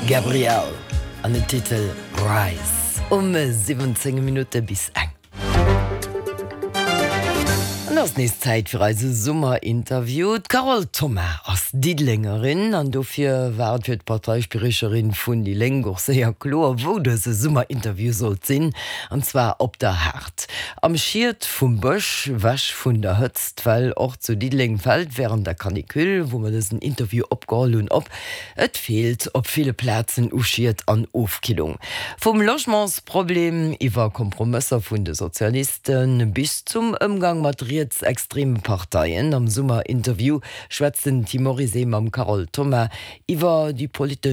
Gabrielle an den Titel Rise um 17 Minutte bis eng. An et ass nees Zäit fir eise Summerinterview. D'Carole Thoma ass Diddelengerin an dofir war et fir d'Parteispriecherin vun déi Lénk och séier kloer, wou dëse Summerinterview sollt sinn, an zwar op der Haard. Am Schiet vum Bësch, wech vun der Hëtzt, well och zu Diddeleng fält wärend der Canicule, wou mer dësen Interview opgeholl hunn, op, Et feelt op ville Plazen u Schied an Ofkillung. Vum Logementsproblem iwwer Kompromësser vun de Sozialiste bis zum Ëmgang mat rietsextreme Parteien. Am Summerinterview schwätzt den Tim Morizet mam Carole Thoma iwwer déi politesch.